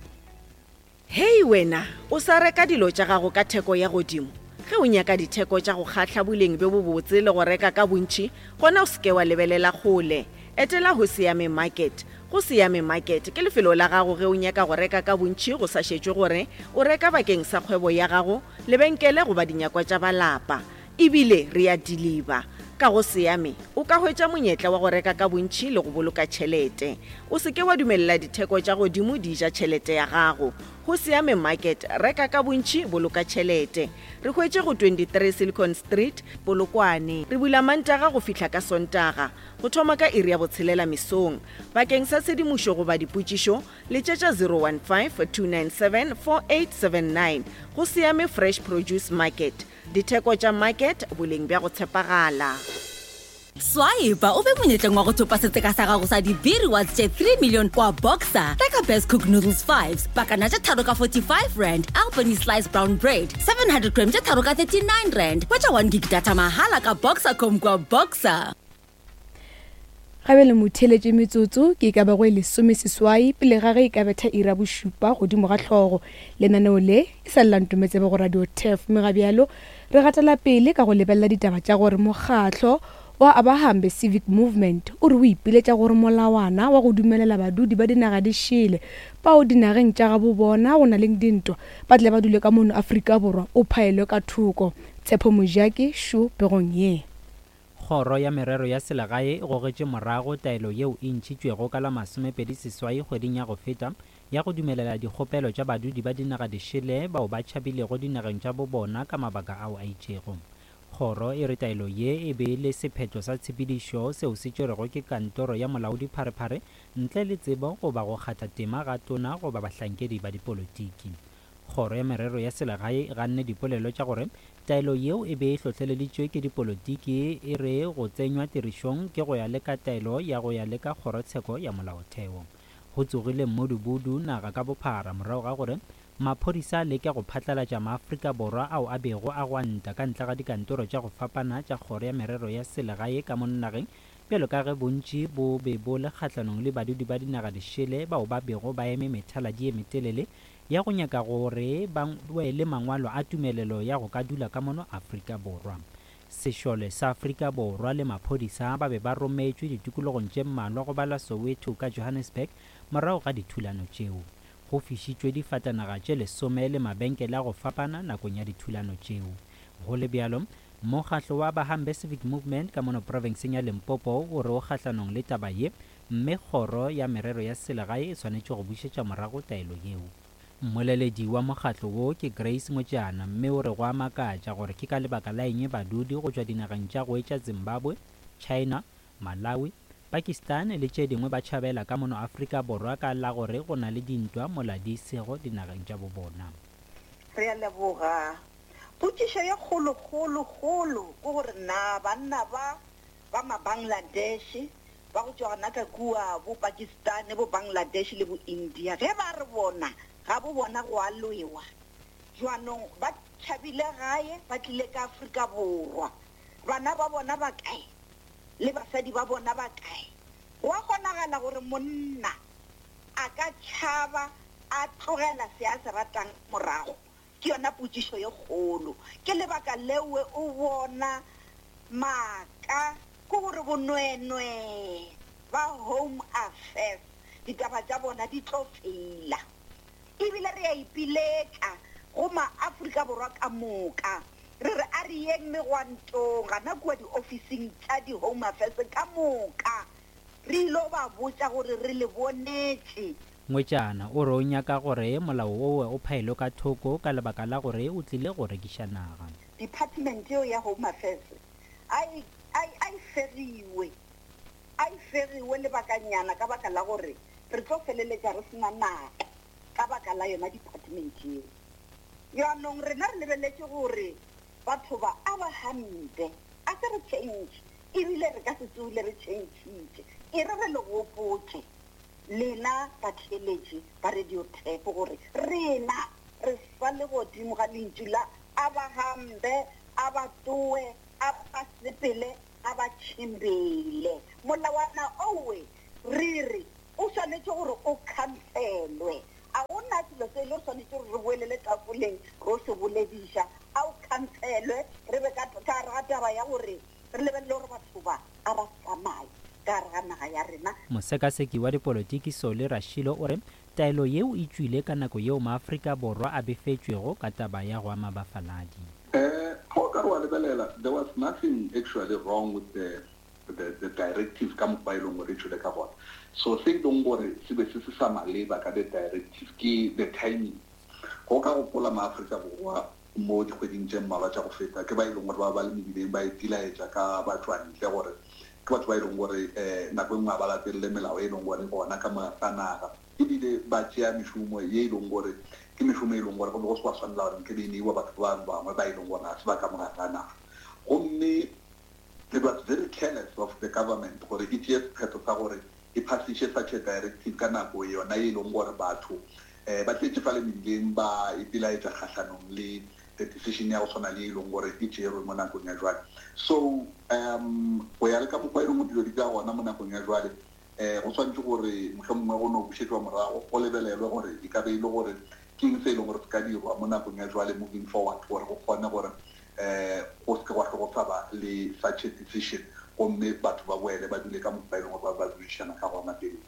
Hey wena, o sa reka dilo tša gago ka theko ya godimo. Ge o nyaka ditheko tša go kgahla boleng bjo bobotse le go reka ka bontši, gona o seke wa lebelela kgole. Etela ho Siame Market. Go Siame Market ke lefelo la gago ge o nyaka go reka ka bontši go sa šetšwe gore o reka bakeng sa kgwebo ya gago, lebenkele goba dinyakwa tša balapa. Ebile re a deliver. Ka go Siame o ka hwetša monyetla wa go reka ka bontši le go boloka tšhelete. O seke wa dumelela ditheko tša godimo di ja tšhelete ya gago. Go Siame Market, reka ka bontši, boloka tšhelete. Re hwetše go twenty-three Silicon Street, Polokwane. Re bula Mantaga go fihla ka Sontaga, go thoma ka iri ya botshelela mesong. Bakeng sa tshedimošo goba dipotšišo, letšetša zero one five, two nine seven, four eight seven nine. Go Siame Fresh Produce Market. Ditheko tša market, boleng bja go tshepagala.
Swipe o be monyetleng wa go thopa setseka sa gago sa di-B rewards tše three million kwa Boxer. Reka Best Cook Noodles fives, pakana tše tharo ka forty-five rand, Albany Slice Brown Bread, seven hundred gram tše tharo ka thirty-nine rand. Hwetša one gig data mahala ka Boxercom kwa Boxer.
Gabe le motheletše metsotso ke ka ba go e lesome seswai pele ga ge e ka betha ira bošupa godimo ga hlogo. Lenaneo le e sa lela Ntometsebe go Radio T E F, mme ga bjalo re gatela pele ka go lebelela ditaba tša gore mokgatlo wa Abahambe Civic Movement o re o ipiletša gore molawana wa go dumelela badudi ba dinaga di šele bao dinageng tša gabo bona go na le dintwa ba tle ba dule ka mono Afrika Borwa o phaelwe ka thoko. Tshepo Mojaki šo pegong ye.
Kgoro ya merero ya selegae e gogetše morago taelo yeo e ntšhitšwego ka la masomepedi seswai kgweding ya go feta ya go dumelela dikgopelo tša badudi ba dinaga dišele bao ba tšhabilego dinageng tša bo bona ka mabaka ao a itšego. Kgoro e re taelo ye e be e le sephetho sa tshepedišo seo se tšerwego ke kantoro ya molaodi pharephare ntle le tsebo goba go kgatha tema ga tona goba bahlankedi ba dipolotiki. Kgoro ya merero ya selegae e ganne dipolelo tša gore taelo yeo e be e hlohleleditšwe ke dipolotiki e re go tsenywa tirišong ke go ya le ka taelo ya go ya le ka kgorotsheko ya molaotheo. Go tsogile mmodubudu naga ka bophara morago ga gore maphodisa a leke go phatlalatša maAfrika Borwa ao a bego a gwanta ka ntle ga dikantoro tša go fapana tša kgoro ya merero ya selegae ka mo nageng bjalo ka ge bontši bo be bo le kgahlanong le badudi ba dinaga dišele bao ba bego ba eme methaladi ye metelele ya go nyaka gore ba wele mangwalo a tumelelo ya go ka dula ka mono Afrika Borwa. Sešole sa Afrika Borwa le maphodisa ba be ba rometšwe ditikologong tše mmalwa go bala Soweto ka Johannesburg morago ga dithulano tšeo. Go fišitšwe difatanaga tše lesome le mabenkele a go fapana nakong ya dithulano tšeo. Go le bjalo, mokgatlo wa Abahambe Civic Movement ka mono profenseng ya Limpopo o re o kgahlanong le taba ye, mme kgoro ya merero ya selegae e swanetše go bušetša morago taelo yeo. Mmoleledi wa mokgatlo wo ke Grace Mojana, mme o re go a makatša gore ke ka lebaka la eng badudi go tšwa dinageng tša go etša Zimbabwe, China, Malawi, Pakistan le tše dingwe ba tšhabela ka mono Afrika Borwa ka la gore go na le dintwa mola di sego dinageng tša bobona.
Re a leboga. Potšišo ye kgolo-kgolo-kgolo ke gore na banna ba ba ma-Bangladesh ba go tšwa gona ka kua bo Pakistan, bo Bangladesh le bo India, ge ba re bona ga bo bona go a lwewa, jwanong ba tšhabile gae ba tlile ka Afrika Borwa, bana ba bona ba kae le basadi ba bona ba kae? Go a kgonagala gore monna a ka tšhaba a tlogela se a se ratang morago? Ke yona potšišo ye kgolo. Ke lebaka leo o bona maaka ke gore bonwenwe ba Home Affairs ditaba tša bona di tlo feila. Ebile re a ipiletša go maAfrika Borwa ka moka, re re a re yeng megwantong gana kua diofising tša di-Home Affairs ka moka, re ilo ba botša gore re le bonetše.
Ngwetšana o re o nyaka gore molao owe o phaelwe ka thoko ka lebaka la gore o tlile go rekiša naga.
Department eo ya Home Affairs a e, a e, a e fegiwe, a e fegiwe lebakanyana ka baka la gore re tlo feleletša re sena naga ka baka la yona department eo. Jaanong rena re lebeletše gore batho ba a ba hampe, a se re change, Ebile re ka se tsule re tšhentšhitše. E re re le gopotše lena batheeletši ba Radio Turf gore rena re sa le godimo ga lentšu la a ba hambe, a ba tloe, a ba sepele, a ba tšhimbele. Molawana owe re re o swanetše gore o khanselwe. A gona selo se e le re swanetše gore re boelele tafoleng ro se bolediša. A o khanselwe re be ka ka gare ga taba ya gore re lebelele gore batho ba a ba tsamaye ka gare ga naga ya rena.
Mosekaseki wa dipolotiki Sole Rashilo o re taelo yeo e tšwile ka nako yeo maAfrika Borwa a befetšwego ka taba ya go ama bafaladi.
Eh, go ka re wa lebelela, there was nothing actually wrong with the, the, the directive ka mokgwa e leng gore e tšwele ka gona. So se e leng gore se be se se sa maleba ka the directive ke the timing. Go ka gopola maAfrika Borwa mo dikgweding tše mmalwa tša go feta ke ba e leng gore ba ba le mebileng ba ipelaetša ka batšwantle gore ke batho ba e leng gore um nako e nngwe ga ba latelele melao e leng gore gona ka mo ga naga, ebile ba tšea mešomo ye e leng gore ke mešomo e leng gore go be go se wa swanela gore nke be e neiwa batho ba bangwe ba e leng gore ga se ba ka mo gare ga naga. Gomme it was very careless of the government gore e tšee sephetho sa gore e phasiše such a directive ka nako yona e leng gore batho um ba tletše fale mebileng ba ipelaetša kgahlanong le the decision ya go tshwana le e leng gore e tšerwe mo nakong ya jwale. So um go ya le ka mokgwa e leng dilo di ka gona mo nakong ya jwale, um go tshwanetse gore mohlomongwe go no bušetšwa morago go lebelelwe gore e ka be e le gore ke eng se e leng gore se ka dirwa mo nakong ya jwale moving forward gore go kgone gore um go se ke gwa hlwe go sa ba le such a decision, gomme batho ba boele ba dule ka mokgwa e leng gore ba ba dudišana ka gona pele.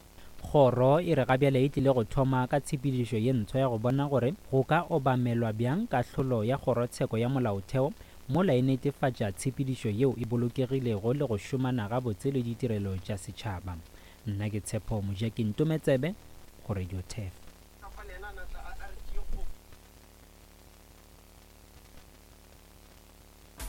Kgoro e re gabjale e tlile go thoma ka tshepedišo ye ntshwa ya go bona gore go ka obamelwa bjang kahlolo ya kgorotsheko ya molaotheo mola e netefatša tshepedišo yeo e bolokegilego le go šomana gabotse le ditirelo tša setšhaba. Nna ke Tshepo Mojaki Ntometsebe go Radio Turf.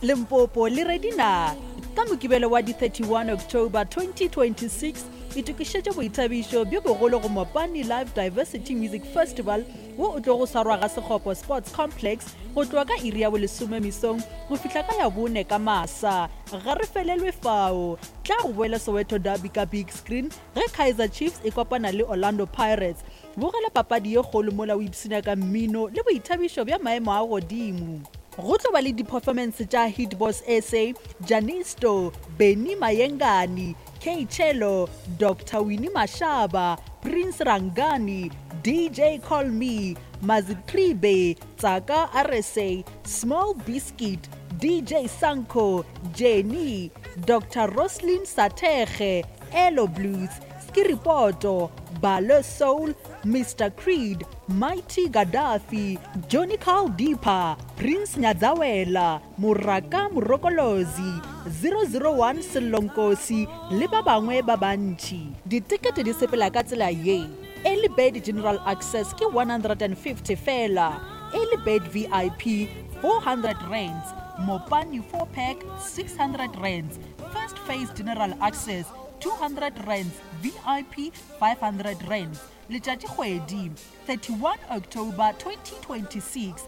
Limpopo le Redina ka Mokibelo wa di thirty-one October twenty twenty-six itokišetše boithabišo bjo bogolo go Mopani Live Diversity Music Festival wo o tlo go swarwa ga Sekgopo Sports Complex go tloga ka iri ya bolesome mesong go fihla ka ya bone ka masa. Ga re felelwe fao, tla go boela Soweto Derby ka big screen ge Kaizer Chiefs e kopana le Orlando Pirates. Bogela papadi ye kgolo mola o ipshina ka mmino le boithabišo bja maemo a godimo. Go tlo ba le di-performance tša Hitboss S A, Janisto, Benny Mayengani, K Chelo, Doctor Winnie Mashaba, Prince Rangani, D J Call Me, Mazitribe, Tsaka R S A, Small Biscuit, D J Sanko, Jenny, Doctor Roslyn Satege, Elo Blues, Skiripoto, Balo Soul, Mister Creed, Mighty Gaddafi, Johnny Carl Deeper, Prince Nyadzawela, Muraka Murokolozi, zero zero one Selonkosi le ba bangwe ba bantši. Ditikete di sepela ka tsela ye. Early Bird General Access ke one hundred and fifty fela, Early Bird V I P four hundred rands, Mopani four pack six hundred rands, First Phase General Access two hundred rands, V I P five hundred rands. Letšatši kgwedi thirty-one October twenty twenty-six.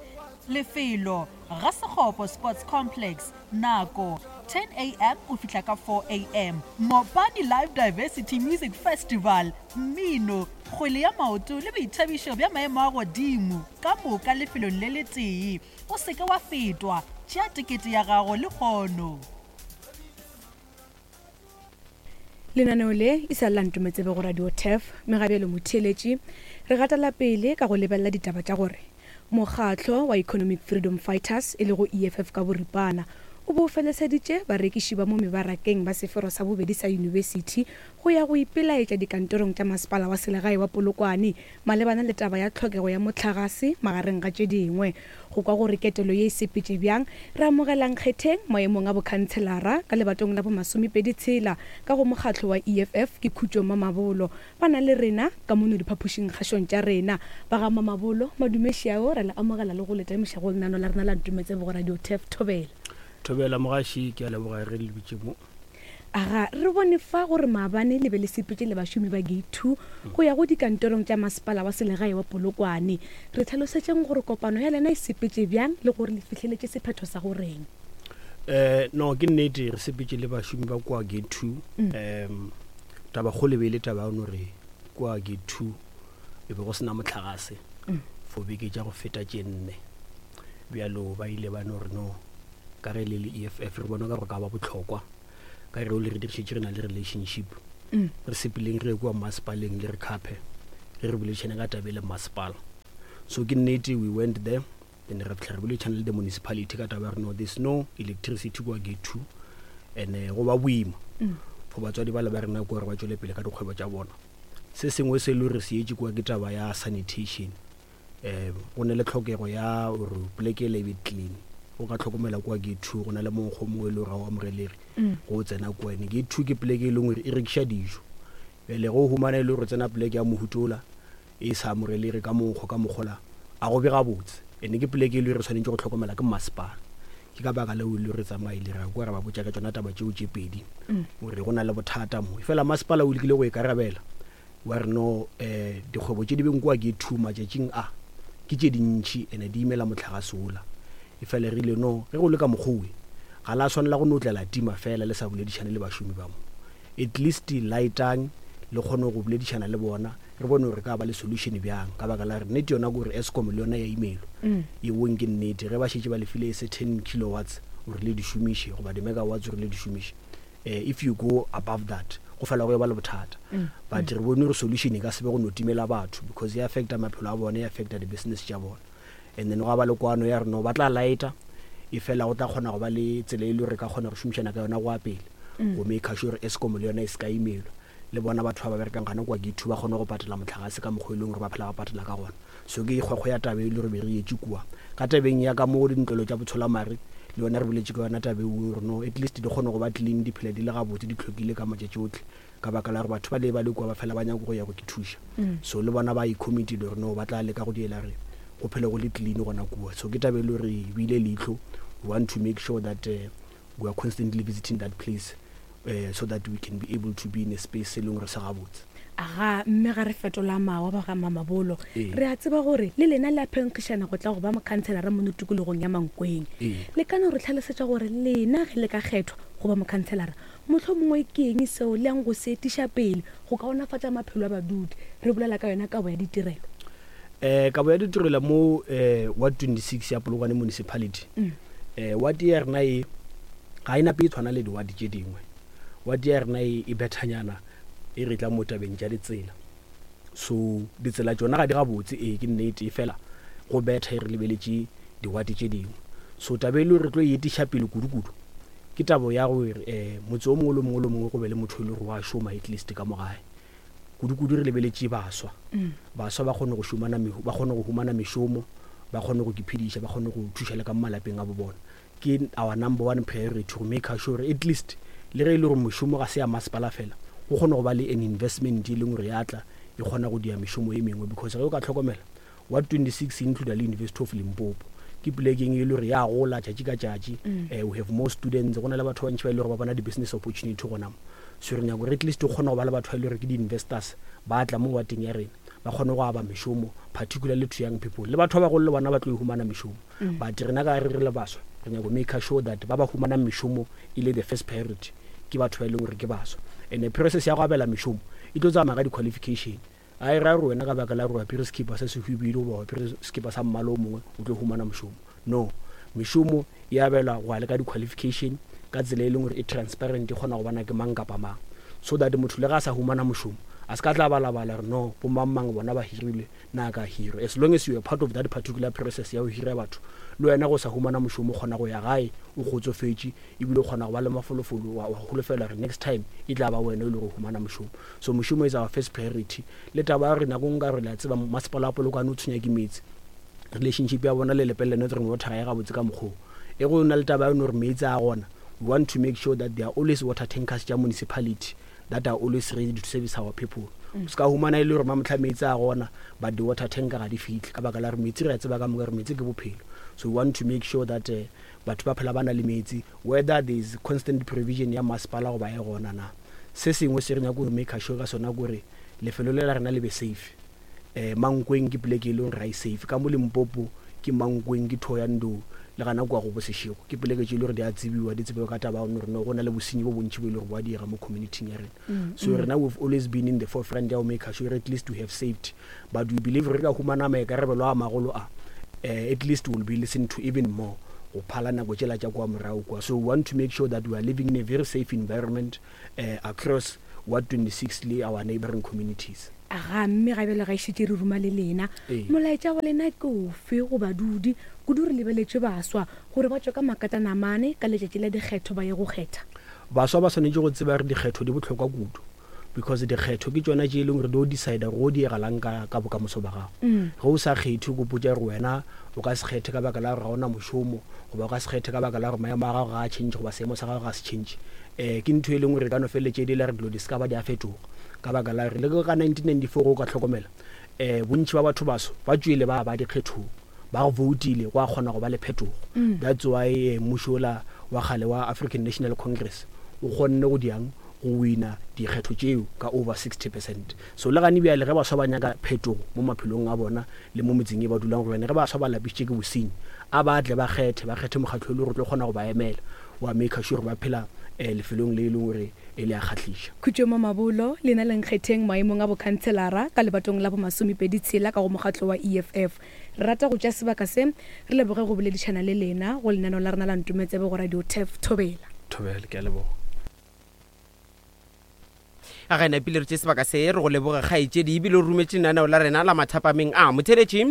Lefelo ga Sekgopo Sports Complex, nako ten A M go fihla ka four A M. Mopani Live Diversity Music Festival, mmino, kgwele ya maoto le boithabišo bja maemo a godimo ka moka lefelong le letee. O seke wa fetwa, tšea tekete ya gago le kgono.
Lenaneo le e sa lla Ntometsebe go Radio Turf, megabelo motheeletši re gatela pele ka go lebelela ditaba tša gore mokgatlo wa Economic Freedom Fighters e lego E F F ka boripana o bo feleseditše barekiši ba mo mebarakeng ba sefero sa bobedi sa yunibesithi go ya go ipelaetša dikantorong tša masepala wa selegae wa Polokwane malebana le taba ya tlhokego ya mohlagase magareng ga tše dingwe. Go kwa gore ketelo ye e sepetše bjang, re amogelang kgetheng maemong a bokhanselara ka lebatong la bomasomepedi tshela ka go mokgatlo wa E F F ke Khutšo Mamabolo. Ba na le rena ka mono diphapošing kgašong tša rena. Ba ga Mamabolo, madumeši ao re le amogela le go le tamiša go lenano la rena la Ntometsebe go Radio Turf. Thobela.
Thobela mogaši, ke a leboga ge le bitše mo.
Aga, re bone fa gore maabane le be le sepetše le bašomi ba Gate two go ya go dikantorong tša masepala wa selegae wa Polokwane. Re tlhalosetšeng gore kopano ya lena e sepetše bjang le gore le fihleletše sephetho sa goreng.
Eh no ke nnete re sepetse le bašomi ba kwa gate two.
Mm.
Um taba kgolo e be e le taba ya gore kwa gate two e be go sena motlagase
Mm.
for beke tša go feta tše nne. Bjalo ba ile ba no re no ka ge le le E F F re bona ka gore ka ba bohlokwa ka re o le re dirišetše re na le relationship.
Mm.
Re sepeleng re ye kua masepaleng le re khape re re boledišane ka taba e le masepala. So ke nnete we went there then re fitlha re boledišana le the municipality ka taba ya gore no there's no electricity kwa gate two and eh, go ba boima
Mm.
for batswadi ba le ba rena kua gore ba tšwele pele ka dikgwebo tša bona. Se sengwe se e le gore se etše kua ke taba ya sanitation. Um go ne le tlhokego ya gore poleke e le e be clean. O ka tlhokomela kua gate two go na le monkgo o mongwe e le gore ga o amogelege
Mm.
go o tsena kua. And gate two ke poleke e leng gore e rekiša dijo. Bjale ge o humana e le gore o tsena poleke ya mohutola e sa amogelege ka monkgo ka mokgola a go be gabotse. And ke poleke e le gore re tshwanetse go tlhokomela ke masepala. Ke ka baka leo e le gore re tsamaile ra kwa ra ba botša ka tšona taba tšeo tše pedi
Mm.
gore go na le bothata mo. Fela masepala o lekile go ikarabela wa re no um dikgwebo tše di beng kua gate two matšatšing a ke tše dintšhi and di imela motlagase ola. E fela re ile no ge go le ka mokgowe ga la swanela go no tlela tima fela le sa boledišane le bašomi ba mo. At least lightang le kgone go boledišana le bona re bone gore ka ba le solution bjang ka baka la re nnete yona ke gore Eskom le yona ya imelwa.
Mm.
E bong ke nnete ge ba šetše ba lefile se ten kilowatts gore le di šomiše goba di-megawatts gore le di šomiše. Eh, if you go above that go fela go e ba le bothata.
Mm.
But re bone gore solution e ka se be go no timela batho because e affecta maphelo a bona, e affecta di-business tša bona. And then gwa ba le kwano ya re no ba tla lighta e fela go tla kgona go ba le tsela e le gore re ka kgona go šomišana ka yona go ya pele
Mm.
go make sure gore Eskom le yona e se ka imelwa le bona batho ba ba berekang gana kwa gate two ba kgone go patela motlagase ka mokgwa e leng gore ba phela ba patela ka gona. So ke kgwekgwe ya taba e le gore be re etše kua ka tabeng ya ka mo dintlelo tša botsholamare le yona re boletše ka yona taba eo gore no at least di kgone go ba clean di phele di le gabotse di tlhokile ka matšatši otlhe ka baka la gore batho ba le ba le kua ba fela ba nyaka go ya go ke thuša.
Mm.
So le bona ba icommittile gore no ba tla leka go diela re go phele go le clean gona kua. So ke taba e le gore e beile leihlo. We want to make sure that uh, we are constantly visiting that place uh, so that we can be able to be in a space e leng gore se gabotse.
Aga mme ga re fetola mawa ba ga Mamabolo
Ee.
re a tseba gore le lena le a phenkgišana go tla go ba mokhanselara mo tikologong ya Mankweng.
Ee.
Le ka no re tlhalosetša gore lena ge le ka kgethwa go ba mokhanselara mohlomongwe ke eng seo le yang go se etiša pele go kaonafatša maphelo a badudi re bolela ka yona kabo ya ditirelo.
Eh kabo ya ditirelo mo eh ward twenty-six ya Polokwane municipality.
Mm.
Eh ward ya rena e ga e nape e tshwana le di-ward tše dingwe. Ward ya rena e e bethanyana e re tla mo tabeng tša ditsela. So ditsela tšona ga di gabotse ee ke nnete e fela go betha e re lebeletše di-ward tše dingwe. So taba e le gore re tlo e etiša pele kudu-kudu ke taba ya gore eh motse o mongwe le mongwe le mongwe go be le motho e le gore wa šoma at least ka mo gae. Kudu-kudu re lebeletše baswa.
Mm.
Baswa ba kgone go šomana mehu-, ba kgone go humana mešomo, ba kgone go iphediša, ba kgone go thuša le ka mo malapeng a bo bona. Ke our number one priority go make sure at least le ge e le gore mošomo ga se ya masepala fela go kgone go ba le an investment e leng gore ya tla e kgona go dia mešomo e mengwe because ge o ka tlhokomela ward twenty-six include le University of Limpopo ke polekeng e le gore ya gola tšatši ka tšatši.
Mm.
Eh, we have more students go na le batho ba bantši ba e le gore ba bona di-business opportunity gona mo. So re nyaka gore at least o kgone go ba le batho ba e le gore ke di-investors ba tla mo wardeng ya rena ba kgone go aba mešomo particularly to young people le batho ba bagolo le bona ba tlo e humana mešomo.
Mm.
But rena ka re re le baswa re nyaka go make sure that ba ba humanang mešomo e le the first priority ke batho ba e leng gore ke baswa. And the process ya go abela mešomo e tlo tsamaya ka di-qualification. A e raya gore wena ka baka la gore o apere sekipa se se hubedu goba o apere sekipa sa mmala o mongwe o tlo humana mošomo. No, mešomo e abelwa go ya le ka di-qualification ka tsela e leng gore e transparent e kgona go bona ke mang kapa mang so that motho le ga a sa humana mošomo a se ka tla balabala gore no bo mang mang bona ba hirilwe nna ka hirwa. As long as you are part of that particular process ya go hira batho le wena go sa humana mošomo o kgona go ya gae o kgotsofetše ebile o kgona go ba le mafolofolo wa wa holofela gore next time e tla ba wena e le gore o humana mošomo. So mošomo is our first priority. Le taba ya gore nako nngwe ka re le a tseba masepala wa Polokwane o tshwenya ke metsi relationship ya bona le Lepelle Northern Water ga e gabotse ka mokgwa o. E go na le taba ya gore metsi a gona we want to make sure that there are always water tankers tša municipality that are always ready to service our people.
Mm.
Se ka humana e le gore mamohla metsi a gona but the water tanker ga di fihle ka baka la gore metsi re a tseba ka moka gore metsi ke bophelo. So we want to make sure that uh, batho ba phela ba na le metsi whether there is constant provision ya masepala goba e gona na. Se sengwe se re nyaka go make sure ka sona kore lefelo le la rena le be safe. Eh, Mankweng ke poleke e leng gore ga e safe ka mo Limpopo ke Mankweng ke Thohoyandou le gana kua go bosešego ke poleke tše e le gore di a tsebiwa di tsebiwa ka taba gore no go na le bosenyi bo bontši bo e le gore bo a diega mo community-ing ya rena.
Mm,
So
mm.
rena we've always been in the forefront ya go make sure at least we have saved, but we believe re ka humana maikarabelo a magolo a, eh, at least we'll be listened to even more go phala nako tšela tša kua morago kua. So we want to make sure that we are living in a very safe environment uh, across Ward twenty-six le our neighboring communities.
Aga mme ga bjale ga e šetše re ruma le lena.
Ee.
Molaetša wa lena ke ofe go badudi, kudu re lebeletše baswa gore ba tšwe ka makatanamane ka letšatši la dikgetho ba ye go kgetha?
Baswa ba swanetše go tseba gore dikgetho di bohlokwa kudu, because dikgetho ke tšona tše e leng gore di o decide gore o diegalang ka, ka bokamoso ba gago.
Mm.
Ge o sa kgethe, o kopotša gore wena o ka se kgethe ka baka la gore ga ona mošomo, goba o ka se kgethe ka baka la gore maemo a gago ga a change goba seemo sa gago ga se change. Eh, ke ntho e leng gore e ka no feleletša e dira gore dilo di se ka ba di a fetoga, ka baka la gore le ka nineteen ninety-four go ka hlokomela, eh, bontši ba batho baso ba tšwele ba ba dikgethong, ba go voutile, go a kgona go ba le phetogo.
Mm.
That's why, eh, mmušo ola wa kgale wa African National Congress o kgonne go diang go wina dikgetho tšeo ka over sixty percent. So le gane bjale ge baswa ba nyaka phetogo mo maphelong a bona le mo metseng e ba dulang go yona, ge baswa ba lapišitše ke bosenyi, a ba tle ba kgethe, ba kgethe mokgatlo e le gore o tlo kgona go ba emela, wa make sure ba phela, eh, lefelong le e leng gore e le a kgahliša.
Khutšo Mamabolo, lena le nkgetheng maemong a bokhanselara ka lebatong la bomasomepedi tshela ka go mokgatlo wa E F F. Re rata go tšea sebaka se re leboge go boledišana le lena go lenaneo la rena la Ntometsebe go Radio Turf. Thobela.
Thobela, ke a leboga.
A ga ena pele re tše sebaka se re go leboga kgaetšedi ebile o rometše lenaneo la rena la mathapameng a motheletši.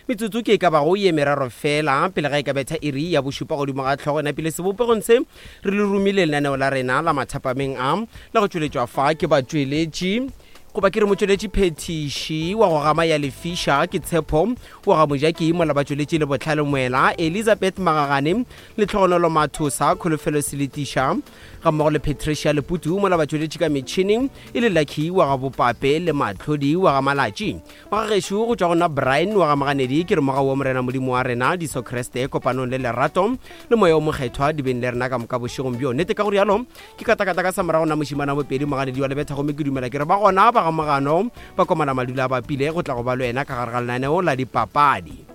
Metsotso ke e ka bago ye meraro fela pele ga e ka betha iri ya bošupa godimo ga hlogo. Ena pele sebopegong se re le romile lenaneo la rena la mathapameng a la go tšweletšwa fa ke batšweletši goba ke re motšweletši phethiši wa go gama ya lefiša ke Tshepo wa ga Mojaki, mola batšweletši le Botlhale Moela, Elizabeth Magagane le Tlhogonolo Mathosa, Kholofelo Seletiša ga mmogo le Patricia Leputu, mola batšweletši ka metšhineng e le Lucky wa ga Bopape le Matlhodi wa ga Malatši. Magagešo go tšwa go nna Brian wa ga Maganedi, ke re moga wa Morena Modimo wa rena Jesu Kriste kopanong le lerato le moya o mokgethwa di beng le rena ka moka bošegong bjo. Nnete ka go rialo ke katakata ka sa morago na mošimana bopedi Maganedi wa Lebetha, gomme ke dumela ke re ba gona ba ga Mogano ba komana madula a bapile go tla go ba le wena ka gare ga lenaneo la dipapadi.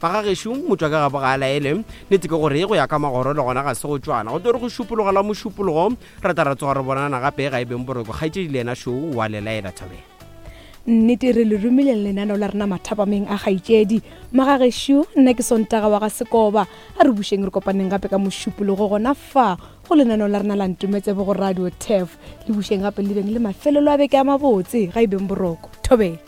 Bagagešo motšwa ka gabo ga a laele, nnete ke gore go ya ka magoro le gona ga se go tšwana, go tlo re go šupologa la mošupologo re tla ra tsoga re bonana gape ga e beng boroko. Kgaetšedi le yena šo wa le laela. Thobela.
Nnete re le romile lenaneo la rena mathapameng a kgaetšedi. Magagešo nna ke Sontaga wa ga Sekoba, a re bušeng re kopaneng gape ka mošupologo gona fa go lenaneo la rena la Ntometsebe go Radio Turf. Le bušeng gape le beng le mafelelo a beke a mabotse ga e beng boroko. Thobela.